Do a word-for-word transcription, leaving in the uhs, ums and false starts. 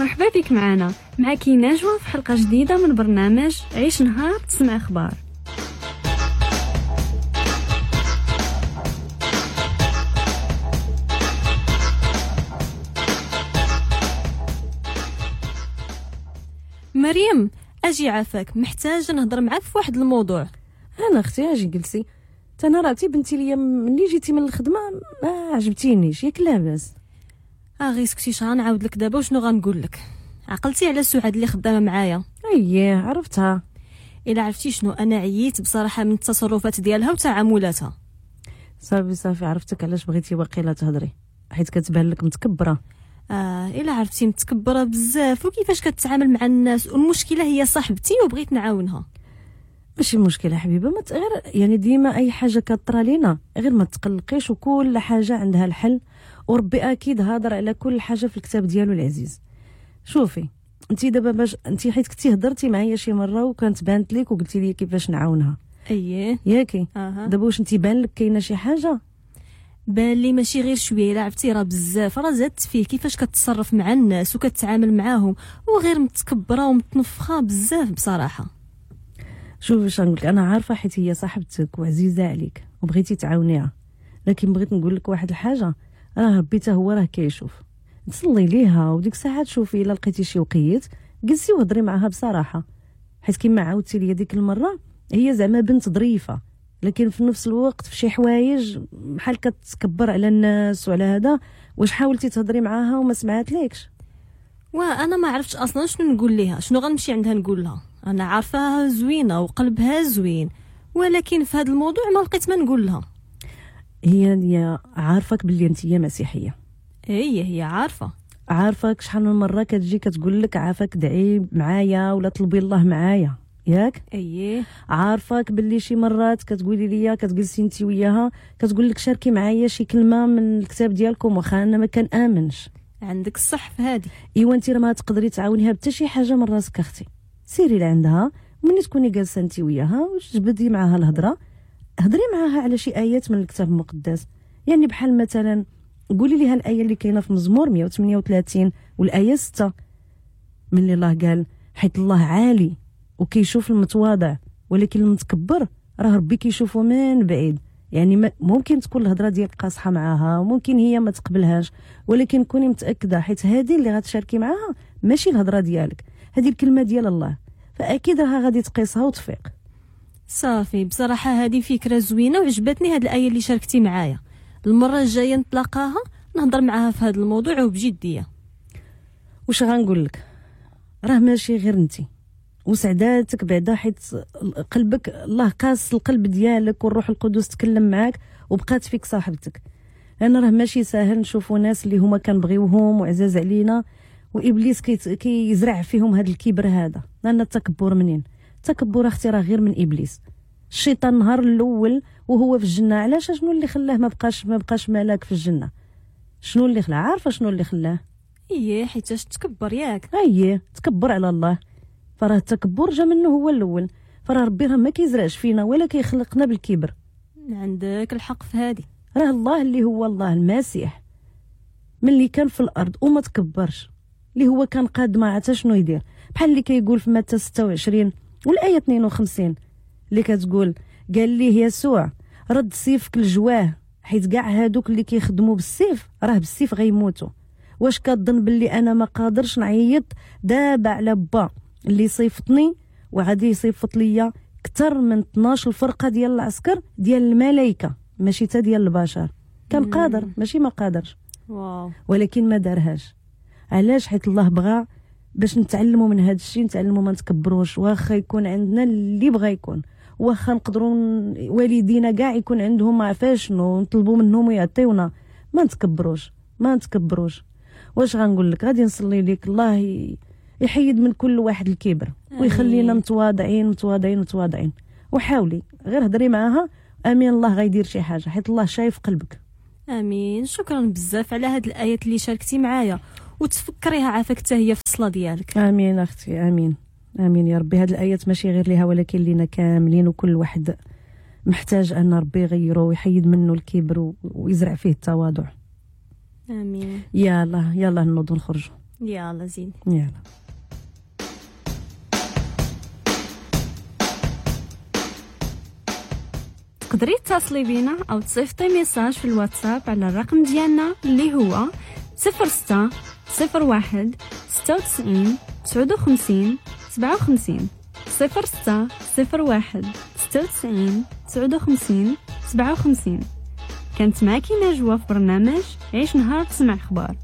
مرحبا بك معنا، معك نجوى في حلقة جديدة من برنامج عيش نهار تسمع أخبار. مريم اجي عافاك، محتاجه نهضر معاك في واحد الموضوع. انا اختي اجي جلسي. انا راتي بنتي ليا ملي جيتي من الخدمة ما عجبتينيش، ياك لاباس؟ اه غير سكتي، شحال نعاود لك دابا وشنو غنقول لك. عقلتي على سعاد اللي خدامه معايا؟ اييه عرفتها. الا عرفتي شنو، انا عييت بصراحة من التصرفات ديالها وتعاملاتها. صافي صافي عرفتك علاش بغيتي واقيلا تهضري، حيت كتبان لك متكبره. اه الا عرفتي متكبره بزاف وكيفاش كتعامل مع الناس، والمشكلة هي صاحبتي وبغيت نعاونها. ماشي مشكلة حبيبه، ما غير يعني ديما اي حاجة كطرى لينا غير ما تقلقيش، وكل حاجة عندها الحل، وربي اكيد هضر على كل حاجة في الكتاب ديالو العزيز. شوفي انت دابا باش انت حيت كنتي هضرتي معايا شي مرة وكانت بانت لك وقلتي لي كيفاش نعاونها. اييه ياكي أه. دابا واش انت بان لك كاينه شي حاجة؟ بان لي ماشي غير شوية، الا عرفتي راه بزاف، راه زادت فيه كيفاش كتصرف مع الناس وكتعامل معاهم، وغير متكبره ومتنفخه بزاف بصراحة. شوفي واش نقول لك، انا عارفه حيت هي صاحبتك وعزيزه عليك وبغيتي تعاونيها، لكن بغيت نقول لك واحد الحاجة، راه ربي حتى هو راه كيشوف. تصلي ليها وديك الساعة تشوفي الا لقيتي شي وقيت جلسي وهضري معاها بصراحة، حيت كما عاودتي لي ديك المرة هي زعما بنت ظريفة، لكن في نفس الوقت في شي حوايج بحال كتكبر على الناس وعلى هذا. واش حاولتي تهضري معاها وما سمعت ليكش؟ وانا ما عرفتش اصلا شنو نقول ليها، شنو غنمشي عندها نقول لها. انا عارفاها زوينة وقلبها زوين، ولكن في هذا الموضوع ما لقيت ما نقول لها. هي هي عارفك باللي انت هي مسيحية. اي هي عارفه، عارفك شحال من مرة كتجي كتقول لك عافاك دعي معايا ولا طلبي الله معايا، ياك؟ اييه عارفاك باللي شي مرات كتقولي ليا كتجلسي انت وياها كتقول لك شاركي معايا شي كلمة من الكتاب ديالكم، واخا انا ما كنامنش. عندك الصح في هذه. ايوا انت راه ما تقدري تعاونيها حتى شي حاجة من راسك اختي. سيري لعندها ملي تكوني جالسة انت وياها وتجبدي معاها الهضرة، هضري معاها على شي ايات من الكتاب المقدس، يعني بحال مثلا قولي ليها الايه اللي كاينه في مزمور مية وثمانية وثلاثين والايه ستة، من الله قال حيت الله عالي وكيشوف المتواضع، ولكن المتكبر راه ربي كيشوفه من بعيد. يعني ممكن تكون الهضرة ديالك قاصحة معاها وممكن هي ما تقبلهاش، ولكن كوني متاكدة حيت هذه اللي غتشاركي معاها ماشي الهضرة ديالك، هذه الكلمة ديال الله، فاكيد راها غادي تقيسها وتفيق. صافي بصراحة هذه فكرة زوينة وعجبتني هذه الايه اللي شاركتي معايا. المرة الجاية نتلاقاها نهضر معاها في هذا الموضوع وبجديه. واش غنقول لك، راه ماشي غير انت وسعداتك بعدا، حيت قلبك الله قاس القلب ديالك والروح القدس تكلم معاك وبقات فيك صاحبتك. لان راه ماشي ساهل نشوفوا ناس اللي هما كنبغيوهم وعزاز علينا وابليس كيزرع فيهم هذا الكبر هذا. لان التكبر منين؟ التكبر اختي راه غير من ابليس. الشيطان النهار الاول وهو في الجنة، علاش؟ شنو اللي خلاه ما بقاش ما بقاش ملاك في الجنة؟ شنو اللي خلاه؟ عارفه شنو اللي خلاه؟ ايه حيتاش تكبر، ياك؟ ايه تكبر على الله، فراه التكبر جا منه هو الاول. فراه ربي راه ما كيزرعش فينا ولا كيخلقنا بالكبر. عندك الحق في هذه. راه الله اللي هو الله المسيح ملي كان في الارض وما تكبرش، اللي هو كان قاد ما عرفت شنو يدير، بحال اللي كيقول في متى ستة وعشرين والايه اثنين وخمسين اللي كتقول قال ليه يسوع رد سيفك لجواه، حيت كاع هادوك اللي كيخدموا بالسيف راه بالسيف غيموتوا. واش كظن باللي انا ما قادرش نعيط دابا على با اللي صيفطني وغادي يصيفط ليا اكثر من اثناش الفرقة ديال العسكر ديال الملائكة ماشي حتى ديال البشر؟ كان قادر ماشي ما قادرش. واو. ولكن ما دارهاش. علاش؟ حيت الله بغى باش نتعلموا من هذا الشيء، نتعلموا ما نتكبروش، واخا يكون عندنا اللي بغى يكون، واخا نقدروا والدينا كاع يكون عندهم ما عرفاش شنو نطلبوا منهم ويعطيونا، ما نتكبروش ما نتكبروش. واش غنقول لك، غادي نصلي لك الله يحيد من كل واحد الكبر ويخلينا متواضعين متواضعين متواضعين. وحاولي غير هضري معاها، امين الله غيدير شي حاجة حيت الله شايف قلبك. امين. شكرا بزاف على هاد الايات اللي شاركتي معايا وتفكريها عافاك حتى هي في الصلاة ديالك. امين اختي، امين امين يا ربي. هاد الايات ماشي غير ليها ولكن لينا كاملين، وكل واحد محتاج ان ربي يغيره ويحيد منه الكبر ويزرع فيه التواضع. امين. يلا يلا نوضوا نخرجوا. يلا زين. يلا. تقدري تتصلي بينا او تصيفطي message في الواتساب على الرقم ديالنا اللي هو صفر ستة صفر واحد ستة وتسعين تسعة وخمسين سبعة وخمسين، صفر ستة صفر واحد ستة وتسعين تسعة وخمسين سبعة وخمسين. كانت معك نجوى في برنامج عيش نهار تسمع اخبار.